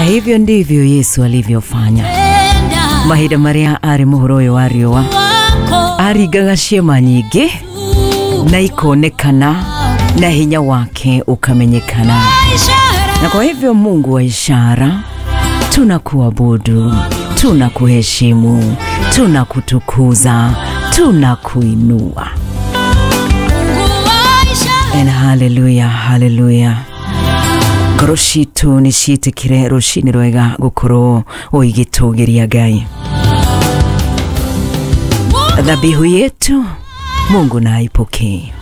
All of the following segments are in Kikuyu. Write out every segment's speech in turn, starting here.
Hivyo ndivyo Yesu alivyofanya. Mahinda marĩa arĩ mũhuro ũyũ wa riũa, aringaga ciama nyingĩ na ikonekana na hinya wake ukamenyekana. Na kwa hivyo, Mungu wa ishara, tunakuabudu, tunakuheshimu, tunakutukuza, tunakuinua. And hallelujah, hallelujah. Ngoro citũ nĩ ciĩtĩkire rũcinĩ rwega gũkorwo ũigĩtũgĩria Ngai. Dhabihu yetu Mungu na aipokee.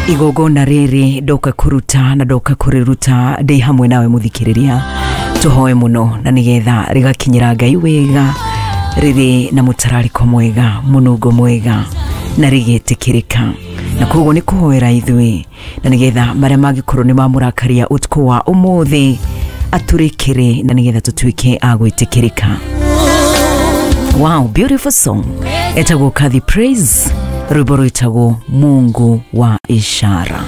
Igongona rĩrĩ ndoka kũruta na ndoka kũrĩruta ndĩ hamwe nawe mũthikĩrĩria, tũhoe mũno na nĩgetha rĩgakinyĩra Ngai wega, rĩrĩ na mũtararĩko mwega, mũnungo mwega na rĩgĩtĩkĩrĩka. Na koguo nĩ kũhoera ithuĩ na nĩgetha marĩa mangĩkorwo nĩ mamũrakaria ũtukũ wa ũmũthĩ atũrĩkĩre na nĩgetha tũtuĩke a gwĩtĩkĩrĩka. Wow, beautiful song. Etagwo Kadhi Praise, rwĩmbo rwĩtagwo Mungu wa Ishara.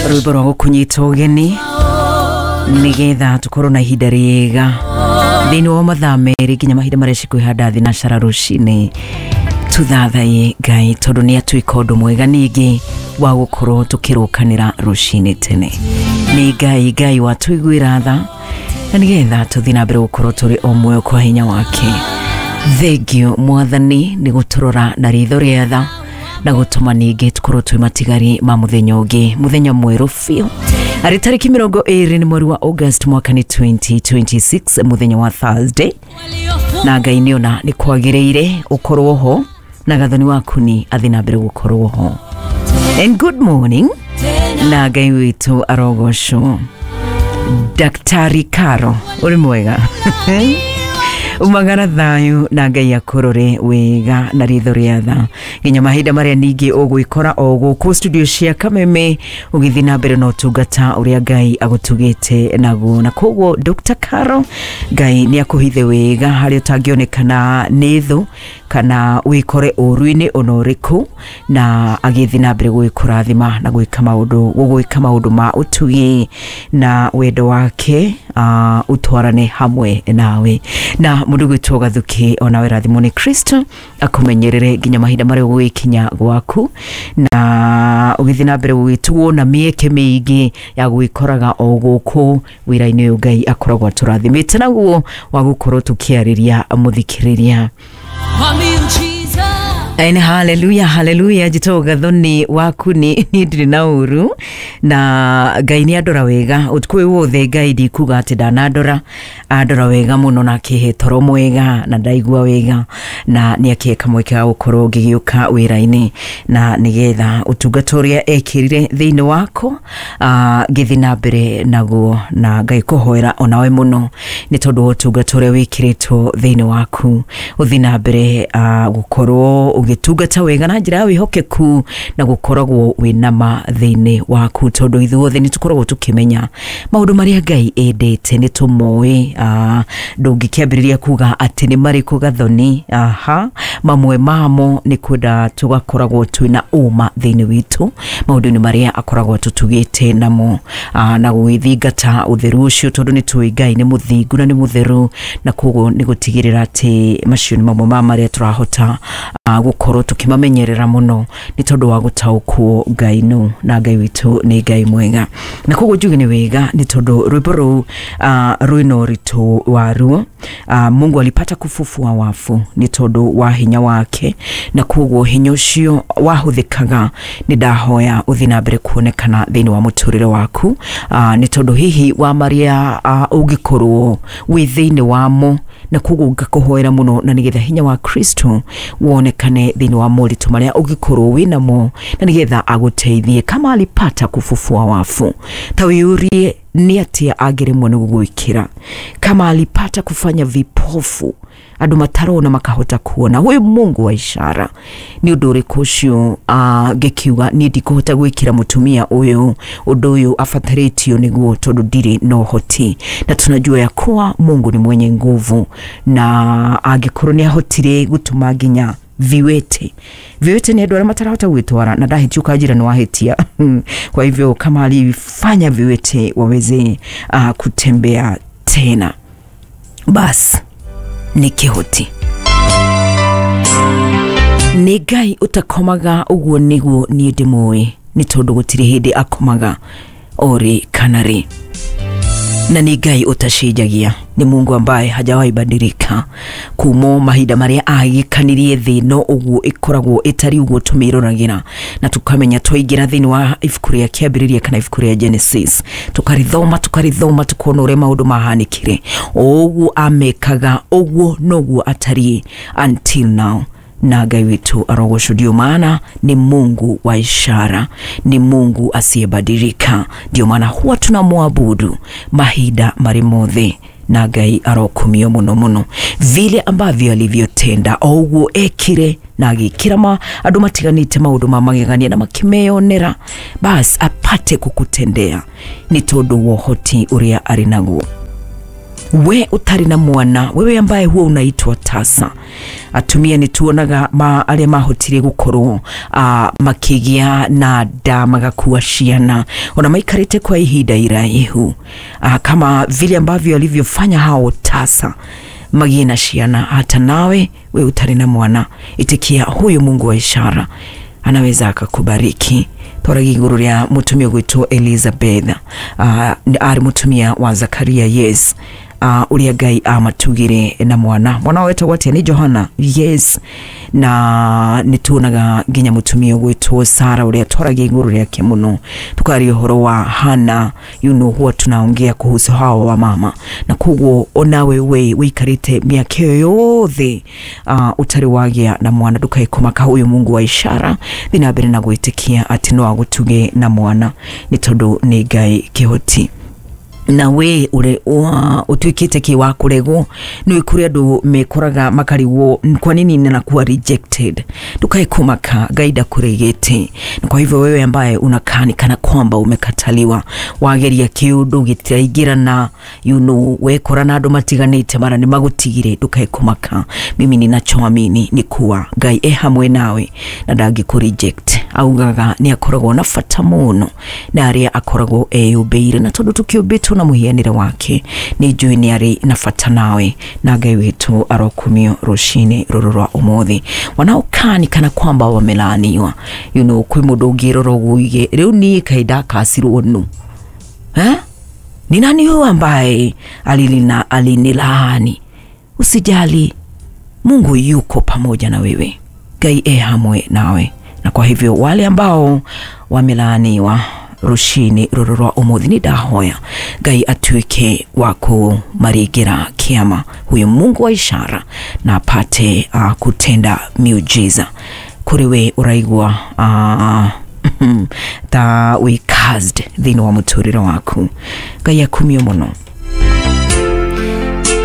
Rwĩmbo rwa gũkũnyita ũgeni nĩgetha tũkorwo na ihinda rĩega thĩinĩ wa mathaa 2 nginya mahinda marĩa cikwĩhanda thinacara rũcinĩ, tuthathaye Ngai tondũ nĩ atuĩka ũndũ mwega ningĩ wa gũkorwo tũkĩrũkanĩra rũcinĩ tene. Nĩ Ngai, Ngai watũiguĩra tha na nĩgetha tũthiĩ na mbere gũkorwo tũrĩ o muoyo kwa hinya wake. Thengiũ Mwathani nĩ gũtũrora na ritho rĩa tha na gũtũma ningĩ tũkorwo twĩ matigari ma mũthenya ũngĩ, mũthenya mwerũ biũ, arĩ tarĩki 20 nĩ mweri wa August, mwaka nĩ 2026, mũthenya wa Thursday. Na Ngai nĩona nĩ kwagĩrĩire ũkorwo ho na Gathoni waku ni athi na mbere gũkorwo ho. And good morning, na Ngai witũ arogocwo. Daktari Karo, ũrĩ mwega? Umagara thayũ na Ngai akũrore wega na ritho rĩa tha nginya mahinda marĩa ningĩ ũgwĩkora o gũkũ studio cia Kameme ũgĩthiĩ na mbere na ũtungata ũrĩa Ngai agũtugĩte naguo. Na koguo Dr. Karo, Ngai nĩ akũhithe wega harĩa ũtangĩonekana nĩ thũ kana wĩkore ũru-inĩ ona ũrĩkũ, na agĩthiĩ na mbere gwĩkũrathima na gwĩka maũndũ, gũgwĩka maũndũ ma ũtugi na wendo wake ũtwarane hamwe nawe. Na mũndũ gwĩtwo Gathuki, onawe rathimwo nĩ Kristo, akũmenyerere nginya mahinda marĩa ũgũgĩkinya gwaku na ũgĩthiĩ na mbere gũgĩtugwo na mĩeke mĩingĩ ya gwĩkoraga o gũkũ wĩra-inĩ ũyũ Ngai akoragwo atũrathimĩte naguo wa gũkorwo tũkĩarĩria mũthikĩrĩria. And hallelujah, hallelujah. Njĩtagwo Gathoni waku, nĩ niĩ ndirĩ na ũru na Ngai nĩ andora wega ũtukũ ũyũ wothe. Ngai ndikuga atĩ ndanandora, andora wega mũno na akĩhe toro mwega na ndaigua wega, na nĩ akĩhe kamweke ga gũkorwo ngĩgĩũka wĩra-inĩ na nĩgetha ũtungata ũrĩa ekĩrire thĩinĩ wakwa ngĩthiĩ na mbere naguo. Na Ngai kũhoera onawe mũno nĩ tondũ wa ũtungata ũrĩa wĩkĩrĩtwo thĩinĩ waku, ũthiĩ na mbere gũkorwo ũgĩtungata wega na njĩra ya wĩhokeku na gũkoragwo wĩna ma thĩinĩ waku, tondũ ithuothe nĩ tũkoragwo tũkĩmenya maũndũ marĩa Ngai endete, nĩ tũmoĩ. Ndũngĩkĩambĩrĩria kuga atĩ nĩ marĩkũ, Gathoni. Aha, mamwe mamo nĩ kwenda tũgakoragwo twĩna ũma thĩinĩ witũ maũndũ-inĩ marĩa akoragwo atũtugĩte namo, na gũgĩthingata ũtheru ũcio, tondũ nĩ tũĩ Ngai nĩ mũthingu na nĩ mũtheru, na koguo nĩ gũtigĩrĩra atĩ macio nĩ mamwe ma marĩa tũrahota gũkorwo tũkĩmamenyerera mũno nĩ tondũ wa gũtaũkwo Ngai nũ, na Ngai witũ nĩ Ngai mwega. Na koguo njuge nĩ wega nĩ tondũ rwĩmbo rũu rwĩna ũritũ waruo. Mungu alipata kufufua wafu nĩ tondũ wa hinya wake, na koguo hinya ũcio wahũthĩkaga, nĩ ndahoya ũthiĩ na mbere kuonekana thĩinĩ wa mũtũrĩre waku, nĩ tondũ hihi wa marĩa ũngĩkorwo wĩ thĩinĩ wamo. Na koguo ngakũhoera mũno na nĩgetha hinya wa Kristo wonekane thĩinĩ wa moritũ marĩa ũngĩkorwo wĩnamo na nĩgetha agũteithie. Kama alipata kufufua wafu, ta wĩyũrie nĩ atĩa angĩremwo nĩ gũgwĩkĩra. Kama alipata kufanya vipofu, andũ matarona makahota kuona, huyu Mungu wa ishara, nĩ ũndũ ũrĩkũ ũcio ngĩkiuga niĩ ndikũhota gwĩkĩra mũtumia ũyũ ũndũ ũyũ abatarĩtio nĩguo, tondũ ndirĩ na ũhoti? Na tunajua ya kuwa Mungu ni mwenye nguvu, na angĩkorwo nĩ ahotire gũtũma nginya Viwete viwete ni andũ arĩa matarahota gwĩtwara na ndahĩtia ũkanjĩra nĩ wahĩtia. Kwa hivyo kama alifanya viwete waweze kutembea tena, bas nĩ kĩhoti, nĩ Ngai ũtakomaga. Ũguo nĩguo niĩ ndĩmũĩ, nĩ tondũ gũtirĩ hĩndĩ akomaga orĩ kana rĩ, na nĩ Ngai ũtacenjagia, nĩ Mungu ambaye hajawahi badilika kumo mahinda marĩa agĩkanirie thĩ, no ũguo ĩkoragwo ĩtari ũguo tũmĩroragira na tukamenya. Twaingĩra thĩinĩ wa ibuku rĩa Kĩambĩrĩria kana ibuku rĩa Genesis, tukarithoma tukarithoma, tukona ũrĩa maũndũ mahanĩkire. O ũguo amekaga, ũguo noguo atariĩ until now, na Ngai witũ arogocwo. Ndio maana ni Mungu wa ishara, ni Mungu asiyebadilika. Ndio maana huwa tunamwabudu mahinda marĩ mothe, na Ngai arokumio mũno mũno vile ambavyo alivyotenda, o ũguo ekire na agĩkĩra ma andũ matiganĩte maũndũ ma magegania na makĩmeyonera, bas apate kukutendea nĩ tondũ wa ũhoti ũrĩa arĩ naguo. We ũtarĩ na mwana, wewe ambaye huwa unaitwa tasa, atumia nĩ tuonaga ma arĩa mahotire gũkorwo makĩgĩa na nda, magakua ciana ona maikarĩte kwa ihinda iraihu, kama vile ambavyo alivyofanya hao tasa magĩe na ciana, hata nawe we ũtarĩ na mwana, itikia huyu Mungu wa ishara, anaweza akakubariki. Twaragia igũrũ rĩa mũtumia ũgwĩtwo Elizabeth, arĩ mũtumia wa Zakaria, yes, ũrĩa Ngai amatugire na mwana. Mwana wetagwo atĩa? Nĩ Johana, yes. Na nĩ tuonaga nginya mũtumia ũgwĩtwo Sara, ũrĩa twaragia igũrũ rĩake mũno, tukaria ũhoro wa Hana. Huwa tunaongea kuhusu hawa wa mama, na koguo onawe we wĩikarĩte mĩaka ĩyo yothe ũtarĩ wagĩa na mwana, ndũkae kũmaka. Huyu Mungu wa ishara, thiĩ na mbere na gwĩtĩkia atĩ no agũtuge na mwana, nĩ tondũ nĩ Ngai kĩhoti. Na we ure utuikite ki wa kuregwo, nĩ kũrĩ andũ mekoraga makarigwo, kwa nini ninakuwa rejected? Ndukae kumaka, Ngai ndakuregete. Na kwa hivyo wewe ambaye unakaa ni kana kwamba umekataliwa, wageria kiundu gitiraingirana, wekora na andũ matiganĩte mara nĩ magutigire, ndukae kumaka. Mimi ninachoamini ni kuwa Ngai e hamwe nawe na ndangĩkũ reject. Augaga nĩ akoragwo na bata mũno na arĩa akoragwo eyũmbĩire, na tondũ tũkĩũmbĩtwo na mũhianĩre wake, nĩ njũĩ nĩ arĩ na bata nawe, na Ngai witũ arokumio rũcinĩ rũrũ rwa ũmũthĩ. Wanaokaa ni kana kwamba wamelaaniwa, kwĩ mũndũ ũngĩrora ũguo uige, rĩu niĩ kaĩ ndakacirwo nu, eh? Ni nani huyu ambaye alinilaani? Usijali, Mungu yuko pamoja na wewe, Ngai e hamwe nawe. Na kwa hivyo wale ambao wamelaaniwa rucini rũrũ rwa ũmũthĩ, nĩ ndahoya Ngai atuĩke wa kũmaringĩra kĩama, huyu Mungu wa ishara, na apate kutenda miujiza kũrĩ we ũraigua ta wĩ cursed thĩinĩ wa mũtũrĩre waku. Ngai akumio mũno.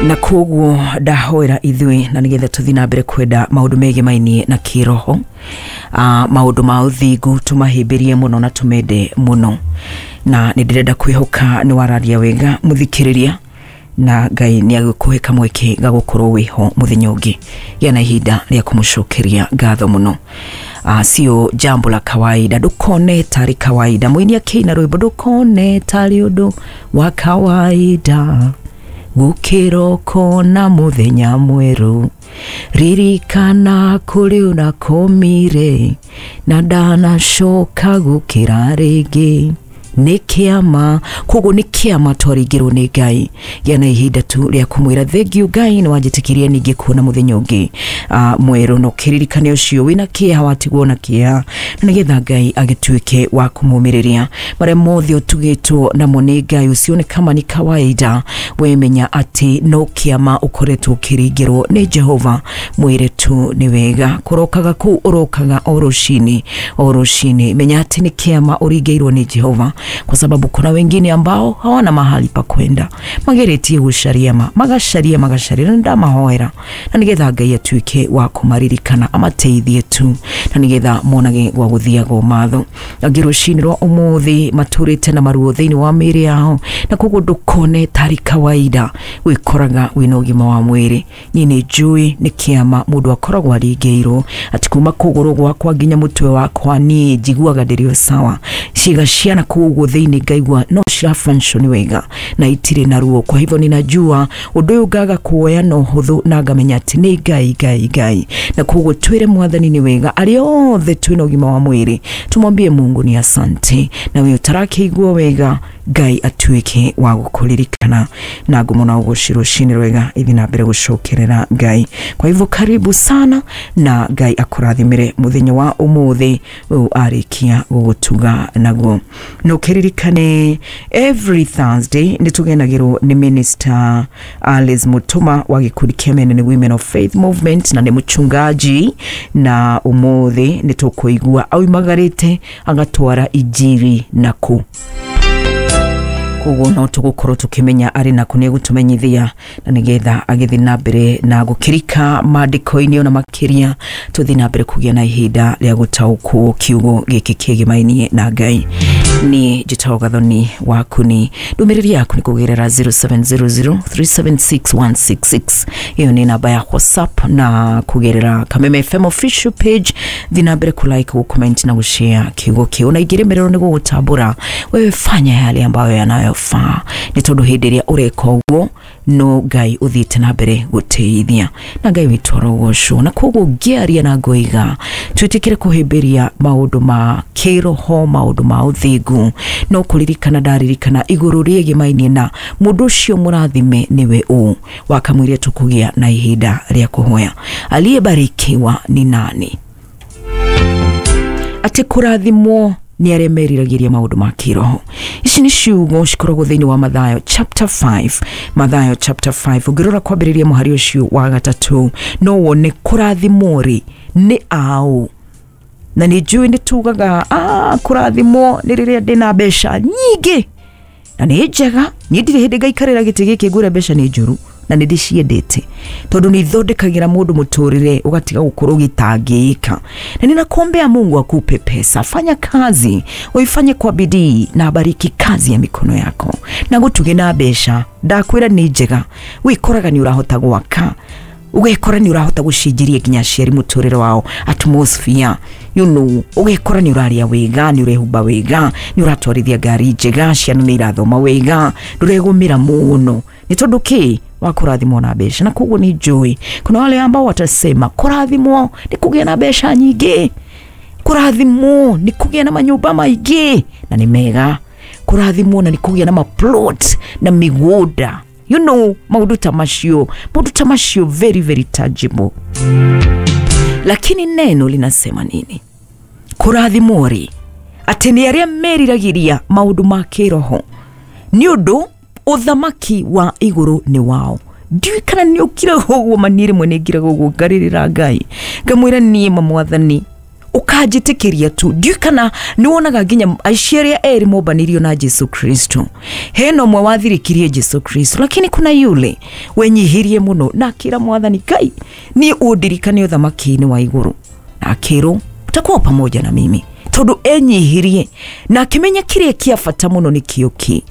Na koguo ndahoera ithuĩ na nĩgetha tũthiĩ na mbere kwenda maũndũ megemainie na kĩroho, maũndũ ma ũthingu tũmahĩmbĩrie mũno na tũmende mũno. Na nĩ ndĩrenda kwĩhoka nĩ wararia wega, mũthikĩrĩria, na Ngai nĩ agũkũhe kamweke ga gũkorwo wĩho mũthenya ũngĩ. Gĩa na ihinda rĩa kũmũcokeria ngatho mũno. Sio jambo la kawaida, ndũkone tarĩ kawaida. Mũini akĩina rwĩmbo, ndũkone tarĩ ũndũ wa kawaida gũkĩroko na mũthenya mwerũ, ririkana kũrĩ ũrakomire na ndanacoka gũkĩra rĩngĩ, nĩ kĩama. Koguo nĩ kĩama twaringĩrwo nĩ Ngai. Gĩa na ihinda tu rĩa kũmwĩra thengiũ Ngai, nĩ wanjĩtĩkĩria ningĩ kuona mũthenya ũngĩ mwerũ, na ũkĩririkane ũcio wĩna kĩeha watigwo na kĩeha, na nĩgetha Ngai agĩtuĩke wa kũmũmĩrĩria marĩa mothe ũtugĩtwo namo nĩ Ngai. Usione kama ni kawaida, wemenya atĩ no kĩama ũkoretwo ũkĩringĩrwo nĩ Jehova. Mwĩre tu nĩ wega kũrokaga kũu ũrokaga o rũcinĩ o rũcinĩ, menya atĩ nĩ kĩama ũringĩirwo nĩ Jehova. kwa sababu kuna wengine ambao hawana mahali pa kwenda, mageretie gucaria ma magacaria magacaria, na ndamahoera na nigetha Ngai atuike wa kumaririkana amateithie tu, na nigetha monage gwa guthiaga matho. Angĩ rũcinĩ rwa ũmũthĩ matũrĩte na maruo thĩinĩ wa mĩĩrĩ yao, na koguo ndũkone tarĩ kawaida wĩkoraga wĩna ũgima wa mwĩrĩ. Niĩ nĩ njũĩ nĩ kĩama mũndũ akoragwo aringĩirwo atĩ kuma kũgũrũ gwakwa nginya mũtwe wakwa niĩ njiguaga ndĩrĩ o sawa, ciĩga ciana kũu ũguo thĩinĩ ngaigua no cira function wega na itirĩ na ruo. Kwa hivyo ninajua ũndũ ũyũ ngaga kuoya na ũhũthũ na ngamenya atĩ nĩ Ngai Ngai Ngai, na koguo twĩre Mwathani nĩ wega. Arĩa othe twĩna ũgima wa mwĩrĩ tumwambie Mungu ni asante, na we ũtarakĩigua wega Ngai atuĩke wa gũkũririkana, na ngumo na ũgoci rũcinĩ rwega ithi na mbere gũcokerera Ngai. Kwa hivyo karibu sana na Ngai akũrathimire mũthenya wa ũmũthĩ ũyũ arĩkia gũgũtuga naguo. Na ũkĩririkane every Thursday nĩ tũgenagĩrwo nĩ Minister Alice Mutuma wa gĩkundi kĩa Men and Women of Faith Movement, na nĩ mũchungaji, na ũmũthĩ nĩ tũkũigua aumagarĩte agatwara injiri nakũ. Koguo no tũgũkorwo tũkĩmenya arĩ nakũ, nĩ egũtũmenyithia na nĩgetha agĩthiĩ na mbere na gũkĩrika maandĩko-inĩ ona makĩria tũthiĩ na mbere kũgĩa na ihinda rĩa gũtaũkwo kiugo gĩkĩ kĩgimainie na Ngai. Niĩ njĩtagwo Gathoni waku, ni ndũmĩrĩri yaku nĩ kũgerera 0700376166, ĩyo nĩ namba ya WhatsApp, na kũgerera Kameme FM official page thiĩ na mbere kũ like, gũ comment na gũshare kiugo kĩu, na ingĩremererwo nĩ gũgũtambũra wewe fanya yale ambayo yanayofaa, nĩ tondũ hĩndĩ ĩrĩa ũreka ũguo no Ngai ũthiĩte na mbere gũteithia, na Ngai witũ arogocwo. Na koguo ngĩaria na ngoiga twĩtĩkĩre kũhĩmbĩria maũndũ ma kĩroho, maũndũ ma ũthingu, no kũririkana ndaririkana igũrũ rĩegĩmainie na mũndũ ũcio mũrathime nĩwe ũ wakamwĩre tũkũgĩa na ihinda rĩa kũhoya. Aliyebarikiwa ni nani? Atĩ kũrathimwo nĩ arĩa meriragĩria maũndũ ma kĩroho. Ici nĩ ciugo cikoragwo thĩinĩ wa Mathayo chapter 5, Mathayo chapter 5 ũngĩrora kwambĩrĩria mũhari ũcio wa gatatũ no wone kũrathimwo rĩ nĩ aũ. Na nĩ njũĩ nĩ tugaga kũrathimwo nĩ rĩrĩa ndĩna mbeca nyingĩ na nĩ njega, niĩ ndirĩ hĩndĩ ngaikarĩra gĩtĩ gĩkĩ ngwĩre mbeca nĩ njũru, na nĩ ndĩciendete tondũ nĩ ithondekagĩra mũndũ mũtũrĩre ũgatiga gũkorwo ũgĩtangĩka. Na ninakuombea Mungu akupe pesa, fanya kazi uifanye kwa bidii na abariki kazi ya mikono yako, na gũtuge na mbeca. Ndakwĩra nĩ njega, wĩkoraga nĩ ũrahota gwaka, ũgekora nĩ ũrahota gũcenjeria nginya aciari mũtũrĩre wao atmosphere, you know, ũgekora nĩ ũraria wega, nĩ ũrehumba wega, nĩ ũratwarithia ngari njega, ciana nĩ irathoma wega, ndũregũmĩra mũno nĩ tondũ kĩ wa kũrathimwo na mbeca. Na koguo nĩ njũĩ kuna wale ambao watasema kũrathimwo nĩ kũgĩa na mbeca nyingĩ, kũrathimwo nĩ kũgĩa na manyũmba maingĩ na nĩ mega, kũrathimwo na nĩ kũgĩa na maplot na mĩgũnda, you know, maũndũ ta macio, maũndũ ta macio very very tangible. Lakini neno linasema nini? Kũrathimwo rĩ atĩ nĩ arĩa meriragĩria maũndũ ma kĩroho, nĩ ũndũ ũthamaki wa igũrũ nĩ wao. Ndiũĩ kana nĩ ũkiraga ũguo, ma niĩ rĩmwe nĩ ngiraga ũguo ngarĩrĩra Ngai ngamwĩra niĩ ma Mwathani ũkanjĩtĩkĩria tu. Ndiũĩ kana nĩ wonaga nginya aici arĩa erĩ mombanirio na Jesu Kristo, hena ũmwe wathirĩkirie Jesu Kristo, lakini kuna yule wenyihirie mũno na akĩra Mwathani Ngai niĩ ũndirikane ũthamaki-inĩ wa igũrũ, na akĩrwo utakuwa pamoja na mimi, tondũ enyihirie na akĩmenya kĩrĩa kĩa bata mũno nĩ kĩo kĩ.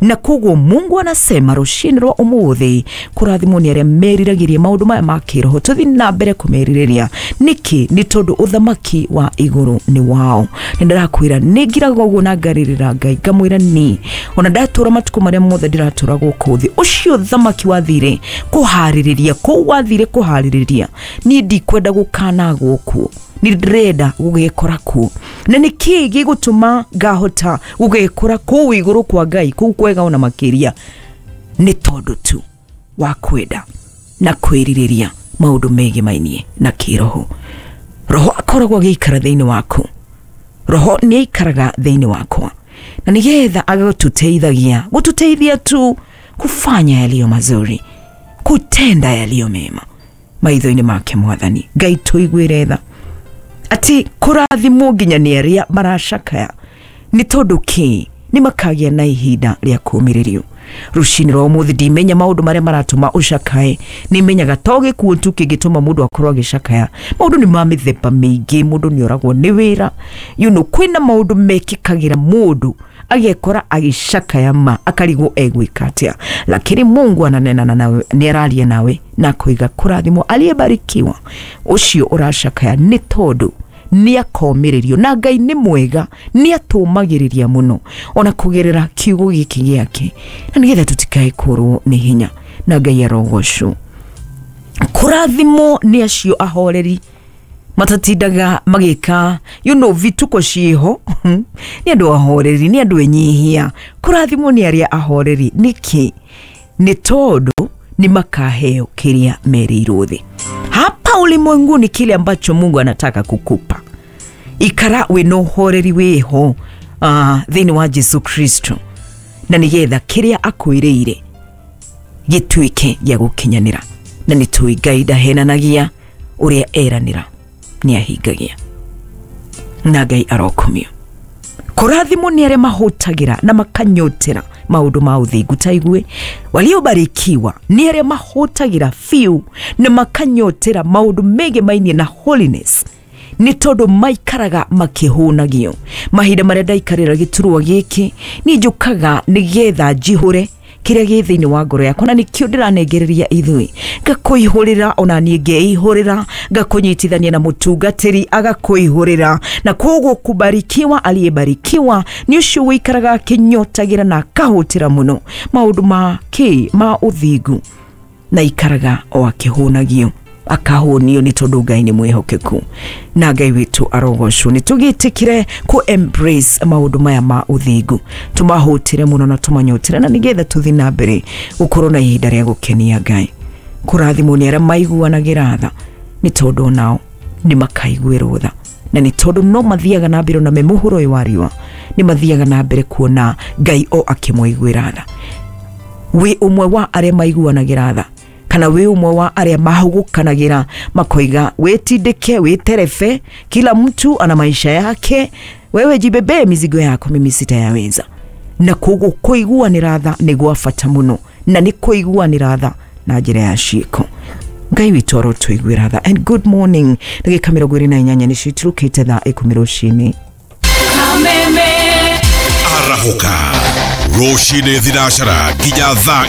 Na koguo Mungu anasema rũcinĩ rwa ũmũthĩ kũrathimwo nĩ arĩa meriragĩria maũndũ maya ma kĩroho, tũthiĩ na mbere kũmerirĩria. Nĩkĩ? Nĩ tondũ ũthamaki wa igũrũ nĩ wao. Nĩ ndĩrakwĩra nĩ ngiraga ũguo na ngarĩrĩra Ngai ngamwĩra niĩ ona ndatũra matukũ marĩa mothe ndĩratũra gũkũ thĩ, ũcio ũthamaki wathire kũharĩrĩria kũu wathire kũharĩrĩria, niĩ ndikwenda gũkanagwo kuo, nĩ ndĩrenda gũgekora kuo. Na nĩ kĩĩ gĩgũtũma ngahota gũgekora kũu igũrũ kwa Ngai, kũu kwega ona makĩria? Nĩ tondũ tu wa kwenda na kwĩrirĩria maũndũ megemainie na kĩroho. Roho akoragwo agĩikara thĩinĩ waku, roho nĩ aikaraga thĩinĩ wakwa, na nĩgetha agagũtũteithagia gũtũteithia tu kufanya yaliyo mazuri, kutenda yaliyo mema maitho-inĩ make Mwathani. Ngai tũiguĩre tha atĩ kũrathimwo nginya nĩ arĩa maracakaya nĩ tondũ kĩ? Nĩ makagĩa na ihinda rĩa kũũmĩrĩrio. Rũcinĩ rwa ũmũthĩ ndimenya maũndũ marĩa maratũma ũcakae, nĩmenyaga to gĩkuũ tu kĩngĩtũma mũndũ akorwo agĩcakaya. Maũndũ nĩ ma mĩthemba mĩingĩ, mũndũ nĩ oragwo nĩ wĩra, you know, kwĩna maũndũ mekĩkagĩra mũndũ agekora agĩcakaya ma akarigwo egwĩka atĩa, lakini Mungu ananena nawe, nĩ araria nawe na akoiga kũrathimwo aliyebarikiwa ũcio ũracakaya, nĩ tondũ nĩ akomĩrĩrio na Ngai nĩ mwega, nĩ atũmagĩrĩria mũno ona kũgerera kiugo gĩkĩ gĩake, na nĩgetha tũtikae kũrwo nĩ hinya, na Ngai arogocwo. Kũrathimwo nĩ acio ahoreri matatindaga magĩka, you know, vituko ciĩho. Nĩ andũ ahoreri, nĩ andũ enyihia. Kũrathimwo nĩ arĩa ahoreri nĩkĩ? Nĩ tondũ nĩ makaheo kĩrĩa merĩirwo thĩ. Hapa ulimwenguni kile ambacho Mungu anataka kukupa, ikara wĩna ũhoreri wĩho thĩinĩ wa Jesu Kristo, na nĩgetha kĩrĩa akwĩrĩire gĩtuĩke gĩa gũkinyanĩra. Na nĩ tũĩ Ngai ndahenanagia, ũrĩa eranĩra nĩ ahingagia, na Ngai arokomio. Kũrathimwo nĩ arĩa mahũtagĩra na makanyotera maũndũ ma ũthingu. Ta igue, waliobarikiwa nĩ arĩa mahũtagĩra biũ na makanyotera maũndũ megemainie na holiness, nĩ tondũ maikaraga makĩhũnagio. Mahinda marĩa ndaikarĩra gĩturwa gĩkĩ, niĩ njũkaga nĩgetha njihũre kĩrĩa gĩ thĩinĩ wa ngoro yakwa, na nĩkĩo ndĩranengereria ithuĩ, ngakũihũrĩra, ona niĩ ngeihũrĩra, ngakũnyitithania na mũtungatĩri agakũihũrĩra. Na koguo kubarikiwa aliyebarikiwa nĩ ũcio wĩikaraga akĩnyotagĩra na akahũtĩra mũno maũndũ ma kĩ ma ũthingu, na ikaraga o akĩhũnagio, akahũnio, nĩ tondũ Ngai nĩ mwĩhokeku na Ngai witũ arogocwo. Nĩ tũgĩtĩkĩre kũ embrace maũndũ maya ma ũthingu, tũmahũtĩre mũno na tũmanyotere, na nĩgetha tũthiĩ na mbere gũkorwo na ihinda rĩa gũkenia Ngai. Kũrathimwo nĩ arĩa maiguanagĩra tha, nĩ tondũ nao nĩ makaiguĩrwo tha, na nĩ tondũ no mathiaga na mbere ona me mũhuro ũyũ wa riũa, nĩ mathiaga na mbere kuona Ngai o akĩmũiguĩra tha. Wĩ ũmwe wa arĩa maiguanagĩra tha, kana wĩ ũmwe wa arĩa mahũgũkanagĩra makoiga wĩtindĩke, wĩterebe, kila mtu ana maisha yake, wewe jibebe mizigo yako, mimi sitayaweza. Na koguo kũiguanĩra tha nĩ gwa bata mũno, na nĩ kũiguanĩra tha na njĩra ya ciĩko. Ngai witũ arotũiguĩra tha. And good morning. Ndagĩka 28 nĩcio iturũkĩte thaa 10 rũcinĩ. Arahũka rũcinĩ thinacara nginya thaa 4.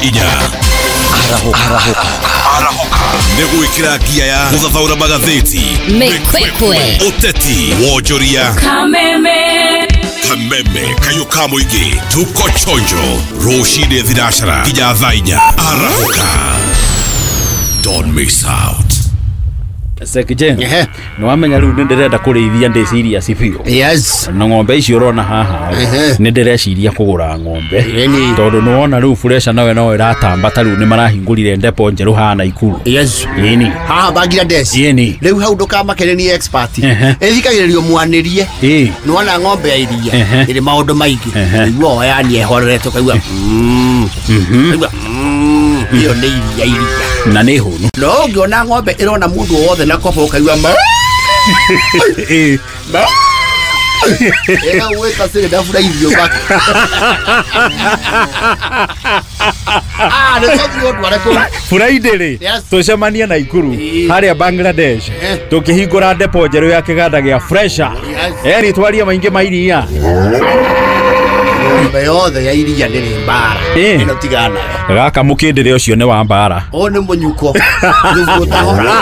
Arahũka nĩ gwĩkĩra ngia ya gũthathaũra magathĩti, Mĩkwekwe, ũteti, wonjoria, kameme, kayũ ka mũingĩ, tuko chonjo rũcinĩ thinacara nginya thaa 4. Arahũka, don't miss out. Sekjen, Ehe. nĩ wamenya rĩu nĩ ndĩrenda kũrĩithia ndĩ serious biũ. Yes. Na ng'ombe icio ũrona haha, Ehe. nĩ ndĩreciria kũgũra ng'ombe. Ĩni. Tondũ nĩ wona rĩu Fresha nawe no ĩratamba, ta rĩu nĩ marahingũrire ndepo njerũ haha Naikuru. Yes. Ĩni. Haha Bangladesh. Ĩni. Rĩu hau ndũkamakere nĩ expert. Ehe. Ĩthikagĩrĩrio mwanĩrie. Ĩ. Nĩwona ng'ombe ya iria Ehe. ĩrĩ maũndũ maingĩ. Ehe. Ũigua o yani ehorerete ũkaigua Ũkaigua ĩyo nĩ iria iria. Na nĩ hũnu. No ũngĩona ng'ombe ĩrona mũndũ o wothe na kobo ũkaigua ma. Ĩ. Ma. Ĩgagwĩta siri ndaburaithio baka. Ah, nĩ tondũ ndware kũu. Friday rĩ, Yes. tũcemanie Naikuru Ĩ. harĩa Bangladesh, Eh. tũkĩhingũra ndepo njerũ ya kĩganda gĩa Fresha. Yes. Eri twarie maingĩ ma iria. Ng'ombe yothe ya iria ndĩrĩ mbara. Ĩ. Ĩno tigana nayo. Gaka mũkĩndĩre ũcio nĩ wa mbara. Ũyũ nĩ mũnyuko. Nĩguo ũtahora.